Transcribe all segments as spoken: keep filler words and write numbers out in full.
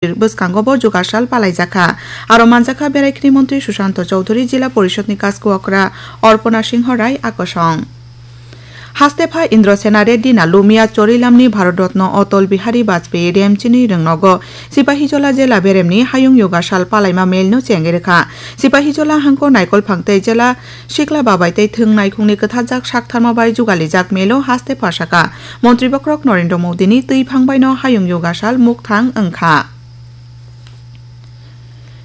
bwskango bo jugasal palaijakha. Aro manjakha Beraikhini Montri Sushanto Chowdhury, Jila Porishod ni Kaskokra Orpona Singho Rai akosong. Haste pha Indrasena Reddy na Lumia Chorilamni Bharat Ratna Atal Bihari Vajpayee Remchini Rwngnogo Sipahijola Jela Beremni Hayung Yoga Sal palaima mel no chengwi rwkha. Sipahijola hangko naikolphang tei Jela Sikla Babai tei Thwng Naikhungni kwthajak saktharma bai jugalijak melo haste pha saka. Montri bokhorok Narendra Modi ni twi phang bai no Hayung Yoga Sal mukthang wngkha.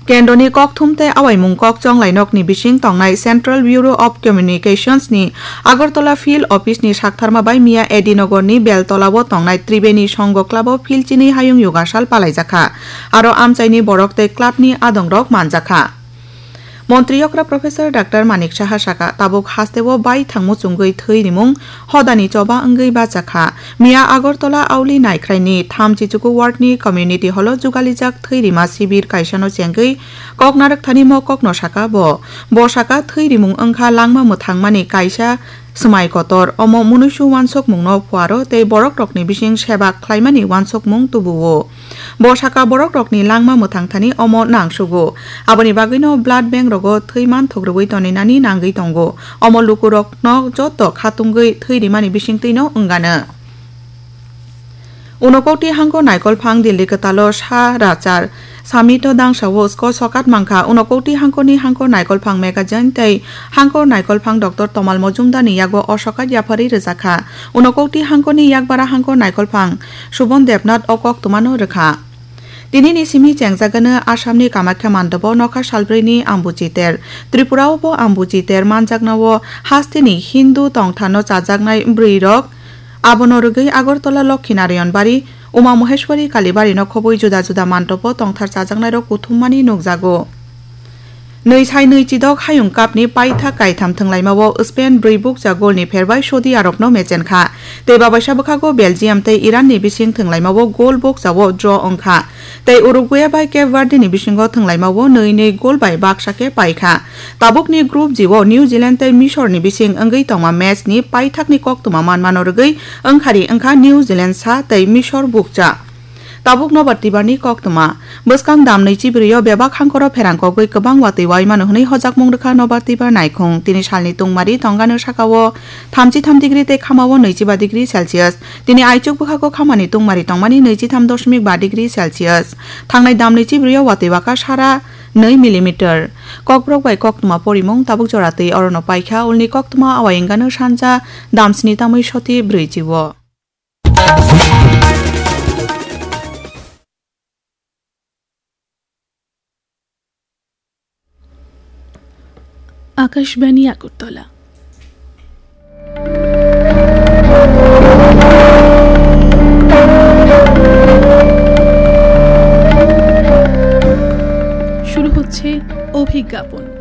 Kendroni kokthum tei awaimung kok chonglai nokni bising tongnai Central Bureau of Communications ni Agartala Field Office ni saktharma bai miya Edinogor ni Beltola o tongnai Tribeni Songho Club o field chini Hayung Yoga Sal palaijakha. Aro amchaini borok tei club ni adongrok manjakha. Montri okra Professor Doctor Manik Saha saka, tabuk hasteo bai thangmu chungwi thwi rimung hodani choba wngwi bachakha. Miya Agartala Auli Naikhraini thamchi chuku ward ni community hall o jugalijak thwi rima sibir kaisano chengwi kok narwkthani mo kokno saka bo. Bo saka thwi rimung wngkha langma mwthangmani kaisa swmai kotor. Omo munuisu wansukmungno phuaro tei borokrokni bising seba khlaimani wansukmung tubuo. Bo saka borokrokni langma mwthangthani omo nangsugo. Aboni bagwino blood bank rogo thwi manthok rwui toninani nangwi tongo. Omo lukurokno joto khatungwi thwi rimani bisingtwino wngano. Unokokti hangko naikolphang Delhi kwtalo sa rachar Samito dangsao sko sokat mankha. Unokokti hangkoni hangko naikolphang magazine tei hangko naikolphang Doctor Tomal Mojumdarni yago o sokat yapharwi rwjakha. Unokokti hangkoni yakbara hangko naikolphang Subon Debnath o koktwmano rwkha. Tinini simi chengjagano Assamni Kamakhya mandobo nokha salbrwini Ambuchi ter. Tripurao bo Ambuchi ter manjaknao hasteni Hindu tongthano chajaknai bwrwirok. Abono rwgwi Agartala Lokhi Narayan Bari, Uma Maheshwari Kalibari no khobwi juda juda mandobo tongthar chajaknairok kuthummani nukjago. Nwi sai nwi chidok hayung kapni paithak kaitham thwnglaimao Spain brwi bukcha golni pherbai Saudi Arabno mechenkha. Tei babaisa bwkhago Belgium tei Iranni bising thwnglaimao gol bukchao draw wngkha. Tei Uruguay bai Cape Verdeni bisingo thwnglaimao nwi nwi gol bai baksa khe paikha. Tabukni Group G o New Zealand tei Misorni bising wngwi tongma matchni paithakni koktwma manmano rwgwi wngkhari wngkha New Zealand sa tei Misor bukcha. Tabuk nobar tibarni koktwma. Bwskang dam nwichi bwrwio bebak hangkoro pherang kogwi kwbang watwi waimano hwnwi hojakmung rwkha nobar tibar naikhung. Tini salni tungmari tongano sakao thamchi tham degree tei khamao nwichi ba degree Celsius. Tini aichuk bwkhago khamani tungmari tongmani nwichi tham doshmik ba degree Celsius. Thangnai dam nwichi bwrwio watwi waka sara nwi millimeter. Kokborok bai koktwma porimung tabuk jora twi orono paikha ulni koktwma awai wngano sanja damsni tamwi soti brwichi o. Akashvani আগরতলা। শুরু হচ্ছে অভিজ্ঞাপন।